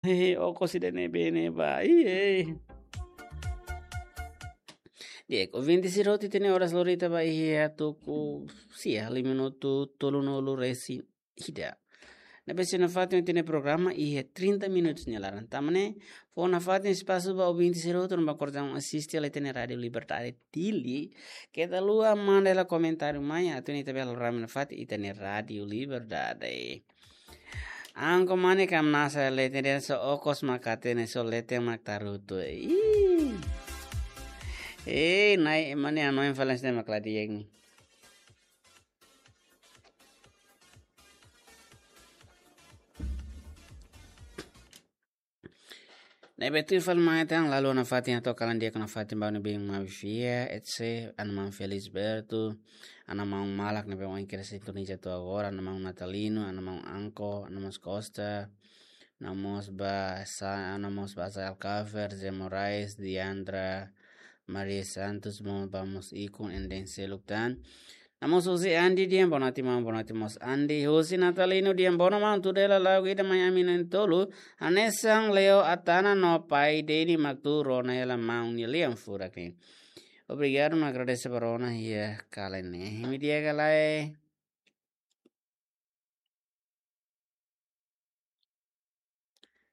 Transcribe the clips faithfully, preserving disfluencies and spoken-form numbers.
Hehe, okos ida-ne'ebé ne'ebá. Iye. Di'ak, ouvinte sira hotu, ita-nia oras lorita ba iha tuku sia, lima minutu tolunulu-resin-ida. Ne'ebé sei nafatin ita-nia programa iha trinta minutos nia laran. Tan ne'e, fó nafatin espasu ba ouvinte sira hotu ne'ebé kordang asiste hela ita-nia Rádio Liberdade Dili. Keta haluha manda hela komentáriu mai, atu nune'e ita bele rame nafatin ita-nia Rádio Liberdade. Anko mane kam nasa leten dehan só okos mak hatene, só leten mak tarutu. Ih. Eh, Na'i, mane hanoin fali hanesan ne'e mak la di'ak ne'e. Ne'ebé tuir fali mai tan, la haluha nafatin atu kalan di'ak nafatin ba ne'ebé mak fiar, et cetera. Ana maun Felisberto, ana maun Malak ne'ebé mak iha sintoniza to'o agora, ana maun Natalino, ana maun Anko, ana maun Costa, ana mós ba Sa-, ana mós ba Sa Alcafer, Zé Moraes, Diandra, Maria Santos, mo ba mós ikun enden seluk tan. Ana mós husi Andi dehan boa noite maun, boa noite mós Andi. Husi Natalino dehan boa noite maun, tuur hela la'o ida mai ami na'in-tolu. Hanesan Leo Atana no pai Deni mak tuur ona hela maun nia lian furak ne'e. Obrigadu no agradese ba rona iha kalan ne'e. Imi di'ak ka lae?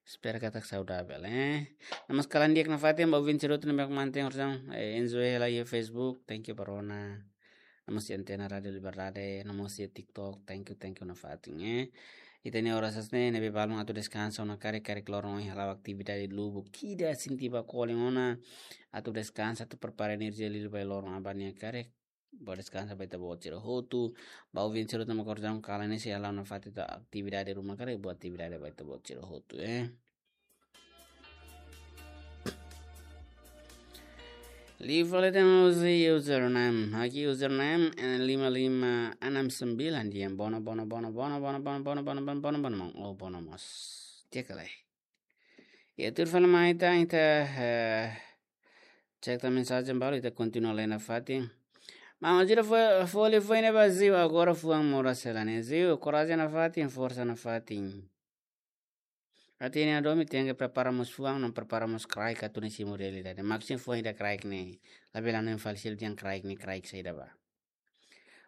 Espera katak saudavel, eh. Ana mós kalan di'ak nafatin ba ouvinte sira hotu ne'ebé mak mantein orasaun, eh, enjoy hela iha Facebook, thank you ba rona. Ana mós iha antena Rádio Liberdade, ana mós iha TikTok, thank you, thank you nafatin, eh. Ita-nia oras hanesan ne'e, ne'ebé balun atu deskansa ona karik, karik loron ohin hala'o atividade lubuk ida, sente ba kolen ona, atu deskansa, atu prepara enerjia liu ba loron aban nian karik. Boa deskansa ba ita-boot sira hotu. Ba ouvinte sira hotu ne'ebé mak kordang kalan ne'e sei hala'o nafatin ita atividade ruma karik, boa atividade ba ita-boot sira hotu, eh. Liu fali tan husi username. Aqui username é lima lima enam sembilan dehan boa noite, boa noite, boa noite. Oh, boa noite mós. Di'ak ka lae? Iha tuir fali mai tan, ita, eh, cek tan mensajen balu, ita kontinua lee nafatin. Maun Azira fó, fó liafuan ne'e ba Ziu, agora fuan moras hela ne'e. Ziu, korajen nafatin, forsa nafatin. Atu nune'e hadomi tenke prepara mós fuan, no prepara mós kraik atu nune'e simu realidade. Maksudnya fuan ida kraik ne'e. Labele hanoin fali sira dehan kraik ne'e, kraik saida ba.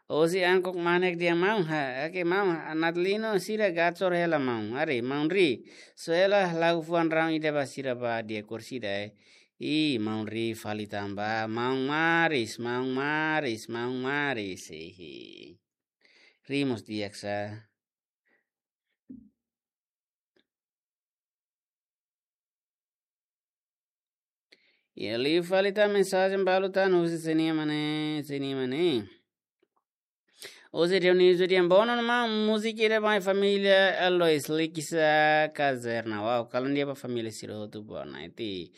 Husi Angkok Manek dehan maun, ha, oke maun, ha, Natalino sira gacor hela maun. Ari, maun Ri. Só hela lagu fuan raun ida ba sira ba di'ak kursi ida, eh. Ih, maun Ri fali tan ba, maun Maris, maun Maris, maun Maris. Hehe. Ri mós di'ak sa. Iha liu fali tan mensajen balu tan husi Senia Mane, Senia Mane. Husi Dionísio dehan boa noite maun, múzika ida ba família Alois Likisa Kazerna. Wow, kalan di'ak ba família sira hotu, boa noite.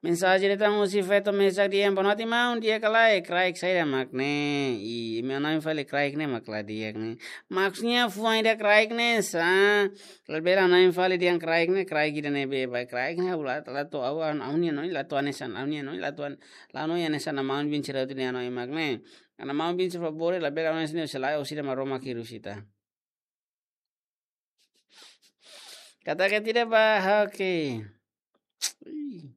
Mensajen ida tan husi Feto Mesak dehan boa noite maun, di'ak ka lae, kraik saida mak ne'e. Ih, imi hanoin fali kraik ne'e mak la di'ak ne'e. Maksudnya fuan ida kraik ne'e sa. Labele hanoin fali dehan kraik ne'e, kraik ida-ne'ebé ba kraik ne'e, ha'u la, la to'o ha'u, ha'u-nia hanoin la to'o hanesan, ha'u-nia hanoin la to'o, la hanoin hanesan maun bin sira hotu nia hanoin mak ne'e. Karena maun bin sira favór, labele hanoin hanesan ne'e, selae orsida maromak hirup sita. Katak ida ba, oke. Ih.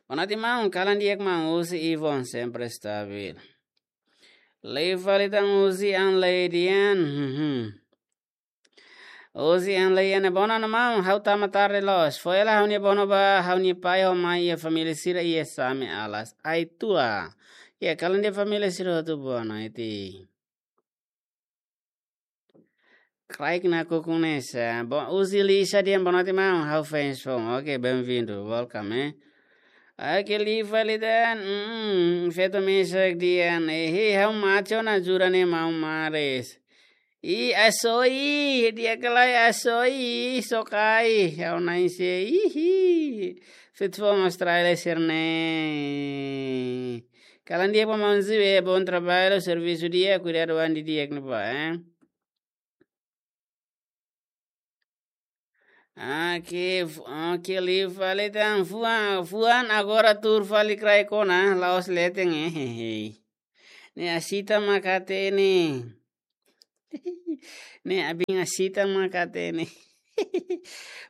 Boa noite maun, kalan di'ak maun, husi Ivon sempre stabil. Liu fali tan husi Anley dehan, mhm. Husi Anley dehan boa noite maun, ha'u tama tarde loos. Fó hela ha'u-nia boa noite ba ha'u-nia pai ho mai iha família sira iha Same Alas. Ai tua. Iha kalan di'ak família sira hotu boa noite. Kraik nakukun ne'e sa. Bo-, husi Lisa dehan boa noite maun, ha'u fans foun. Oke, bem-vindo, welcome, eh. Oke, liu fali tan, mm, Feto Mesak dehan, eh, hei, ha'u mate ona jura ne'e maun Maris. Ih, asoy, di'ak ka lae asoy, sokai, ha'u na'in-seen, ih, ih. Feto foun Austrália sira-ne'e. Kalan di'ak ba maun Ziu, eh, bom trabalho, servisu di'ak, kuidadu an didi'ak ne'ebá, eh. Oke, fu-, oke, liu fali tan fuan, fuan agora tuur fali kraik ona, la'ós leten, eh, hehe. Ne'e asita mak hatene. Ne'e abin asita mak hatene.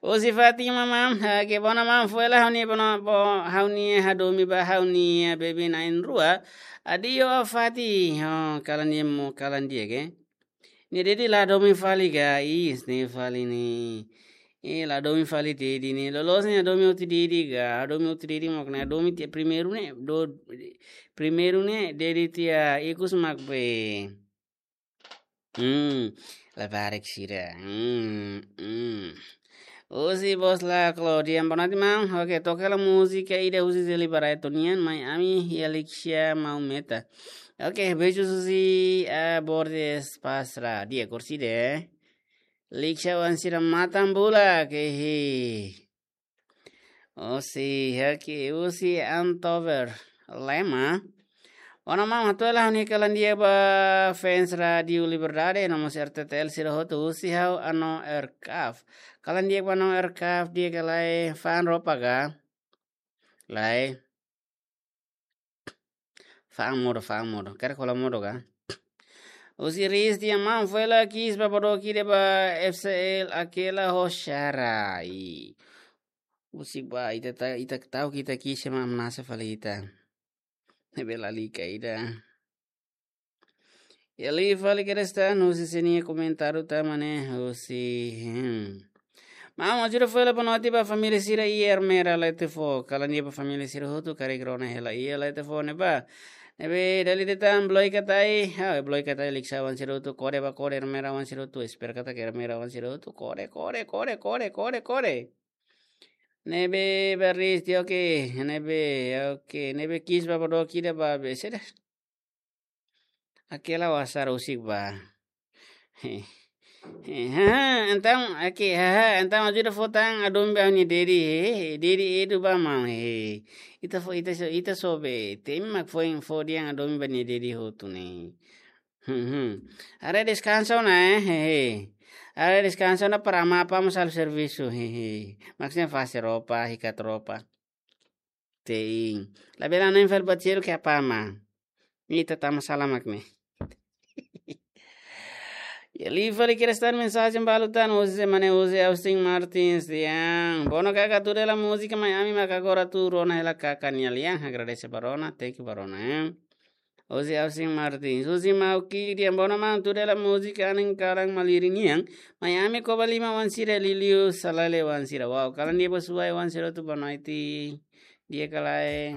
Husi Fátima maun, ah, ke bona maun, foin hela ha'u-nia bona, bo, ha'u-nia hadomi ba ha'u-nia bebé na'in-rua. Adio Fati, oh, kalan di'ak mo, kalan di'ak ke. Nia dedi la hadomi fali ka, is, ne'e fali ne'e. Eh, la hadomi fali dedi ne'e. Loloos ne'e hadomi hotu dedi ka, hadomi hotu dedi mak ne'e, hadomi tiha primeiru ne'e, do, primeiru ne'e, dedi tiha ikus mak be. Hmm, labarik sira. Hmm, hmm. Husi bos la Claudia, boa noite, maun. Oke, toka hela múzika ida husi Zeli Barreto nian, mai ami iha Lixia Maumeta. Oke, beijos husi, ah, Bordes Pasra. Di'ak, orsida. Lixia oan sira matan bulak, hehe. Husi, oke, husi Antover Lema. Ona maun, hato'o hela ha'u-nia kalan di'ak ba fans Rádio Liberdade, no mós R T T L sira hotu, husi ha'u Ano Erkaf. Kalan di'ak ba Ano Erkaf, di'ak ka lae, fa'an roupa ka? Lae. Fa'an modo, fa'an modo. Karik hola modo ka? Husi Riz dehan maun, foin hela kiss ba bodoki ida ba F C L Akela ho Shara. I. Husik ba, ita ta, ita ta'uk ita kiss mak hamnasa fali ita. Ne'ebé lalika ida. Iha liu fali kedas tan, husi sira-nia komentáriu tama ne'e, husi, hmm. Maun, ajuda foin hela boa noite ba família sira iha Ermera Letefo. Kalan di'ak ba família sira hotu, karik rona hela iha Letefo ne'ebá. Ne'ebé dala ida tan Bloika Thai, ah, Bloika Thai Lixia oan sira hotu, kore ba kore Ermera oan sira hotu, espera katak Ermera oan sira hotu, kore, kore, kore, kore, kore, kore. Ne'ebé ba Riz dehan oke, ne'ebé, oke, ne'ebé kiss ba bodoki ida ba be, saida. Akela wasar husik ba. He. He, ha, entaun, oke, ha, ha, entaun ajuda fó tan hadomi ba ha'u-nia dedi, he, he, dedi Edu ba maun, he. Ita fó, ita so, ita so be, temi mak foin fó dehan hadomi ba nia dedi hotu ne'e. Hmm, hmm. Haree deskansa ona, eh, he, he. Haree deskansa ona para mapa mo sal servisu, he, he. Maksudnya fase roupa, hikat roupa. Tein. Labele hanoin fali buat seluk ke apa ma. Ita tama sala mak ne'e. Iha liu fali kedas tan mensajen balu tan, husi ema ne'e husi Austin Martins dehan. Bono kaka tuur hela múzika mai ami mak agora tuur ona hela kaka nia lian. Agradese ba rona, thank you ba rona, eh. Husi Austin Martins. Husi Mauki dehan bono maun tuur hela múzika anin kalan malirin nian. Mai ami koba lima oan sira liuliu salale oan sira. Wow, kalan di'ak ba suai oan sira hotu boa noite. Di'ak ka lae.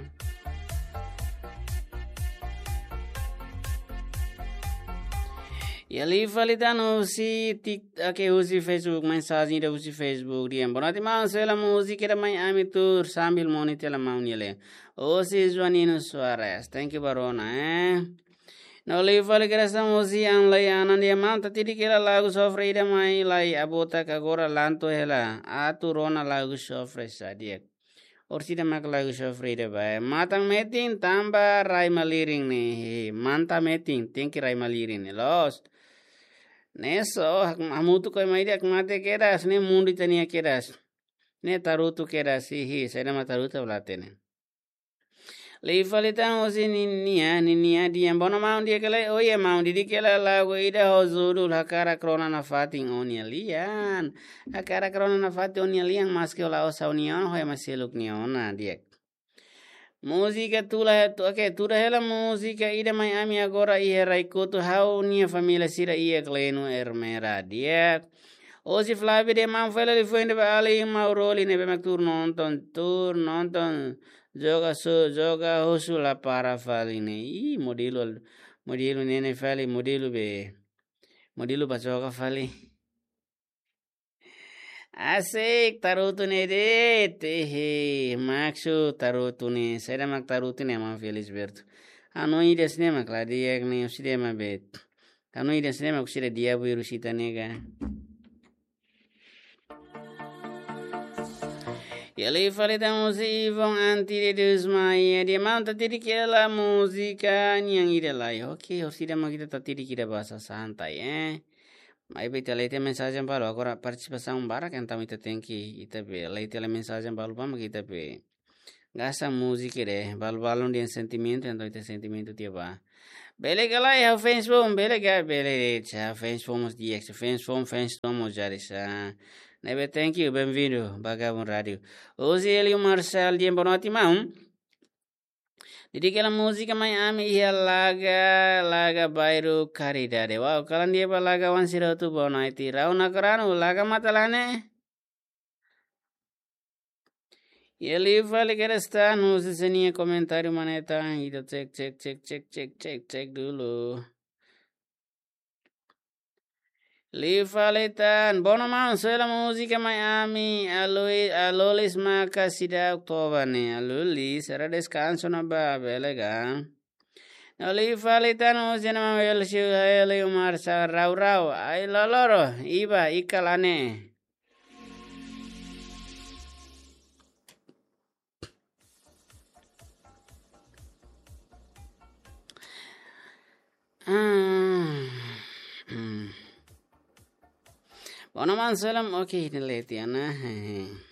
Iha liu fali tan husi Tik, oke, husi Facebook, mensajen ida husi Facebook dehan. Boa noite maun, sela múzika ida mai ami tuur sambil monitor hela maun nia lian. Husi Joanino Soares. Thank you ba rona, eh. No liu fali kedas tan husi Anlai Anan dehan maun tatidik hela lagu sofre ida mai lai abota ka agora lanto hela. Atu rona lagu sofre sa di'ak. Orsida mak lagu sofre ida ba. Matan metin tanba rai malirin ne'e. He, manta metin, tenke rai malirin ne'e. Loos. Ne'e so, hak, hamutuk ho ema ida hakmatek kedas, ne'e mundu ita-nia kedas. Ne'e tarutu kedas, hihi, saida mak tarutu ba la hatene. Liu fali tan husi Ninia, Ninia dehan bono maun di'ak ka lae, oh iya maun didik hela lagu ida ho judul Hakarak Rona Nafatin Ó-nia Lian. Hakarak rona nafatin ó-nia lian maski ó la'ós ha'u-nia oan, ho ema seluk nia ona, di'ak. Múzika tuur hela, tu-, oke, tuur hela múzika ida mai ami agora iha rai kotuk ha'u-nia família sira iha Klenu Ermera, di'ak. Husi Flavio dehan maun foin hela liafuan ida ba alin Mauroli ne'ebé mak tuur nonton, tuur nonton joga su, joga husu la para fali ne'e. Ih, modelu, modelu ne'e ne'e fali, modelu be. Modelu ba joga fali. Asik, tarutu ne'e de'it, ehe, maksud tarutu ne'e, saida mak tarutu ne'e maun Felisberto. Hanoin ida hanesan ne'e mak la di'ak ne'e, orsida ema be. Hanoin ida hanesan ne'e mak orsida diabu hirus ita ne'e ka. Iha liu fali tan husi Ivon Anti de Deus Maia, dehan maun tatidik hela múzika nian ida lai. Oke, orsida mak ita tatidik ida ba sasán tan, eh. Maibé ita lee tiha mensajen balu, agora partisipasaun barak, entaun ita tenke, ita be, lee tiha mensajen balu ba mak ita be Gasta múzika de, balu-balu dehan sentimentu, entaun ita sentimentu tiha ba. Bele ka lae, ha'u fans foun, bele ka, bele de'it, ha'u fans foun mós di'ak, fans foun, fans foun mós jadi sa. Ne'ebé, thank you, bem-vindo, ba Gabun Rádiu. Hoje ele, o Marcel, dehan boa noite, maun. Dedika hela múzika mai ami iha Laga, Laga Bairru Caridade. Wow, kalan di'ak ba Laga-oan sira hotu, boa noite. Rau Nakaranu, Laga Matalane. Iha liu fali kedas tan, husu sira-nia komentáriu maneta. Ita cek, cek, cek dulu. Liu fali tan, bono maun, sela múzika mai ami, alui, alulis maka seidauk toba ne'e, alulis, ha'u deskansa ona ba, bele ka. No liu fali tan, husu sira-nia maun Welcio, Heli, Umar, sa Rau Rau, ai loloro, iba, ikal ane. Ah, hmm. Bono maun, sela, oke, ini leti ana. Hehe.